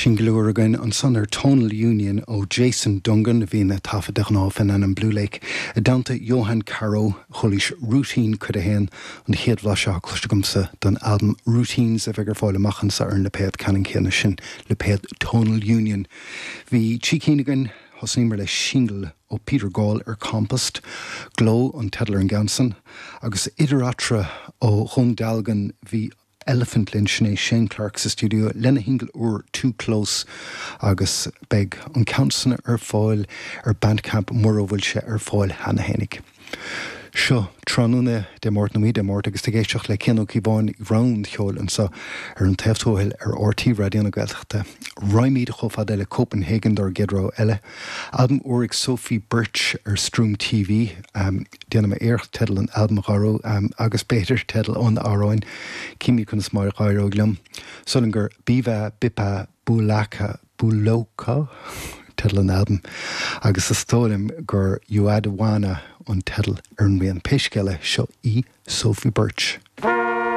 Singil úr againn ansan ar Tonal Union ó Jason Dungan, a bhíonn ag taifead de ghnáth fén ainm Blue Lake, i dteannta Johann Caroe. Chualaís Routine Cuid 1, an chéad bhlaiseadh atá cloiste agamsa den albam Routines a bheidh ar fáil amach anso ar an lipéad ceannann céanna sin, lipéad Tonal Union. Bhí trí cinn againn, thosnaíomar le singil ó Peter Gall ar Compost, Glow an teideal ar an gceann san, agus idir eatarthu ó Dhún Dealgan bhí Elliphant linn, sin é Shane Clarke sa stiúideo lena shingil úr Too Close agus beidh an ceann san ar fáil ar Bandcamp mura bhfuil sé ar fáil cheana fhéinig. Seo tráthnóna Dé Máirt nó oíche Dé Máirt agus tú ag éisteacht le Cian Ó Cíobháin ag rogha an cheoil anseo ar an taobh tuathail ar RTÉ Raidió na Gaeltachta. Raghaimid chomh fada le Copenhagen dár gcéad rogha eile. Albam úr ag Sofie Birch ar Stroom TV. Déanfaidh mé iarracht teideal an albaim a dh'athrú, agus b'fhéidir teideal an amhráin. Címid conas mar a dh'éireoidh liom. Súil agam gur Biva Bipa Bulaka Buloka teideal an albaim, agus is dóigh liom gur Uadwana an teideal ar an rian. Pé scéal é, seo í Sofie Birch.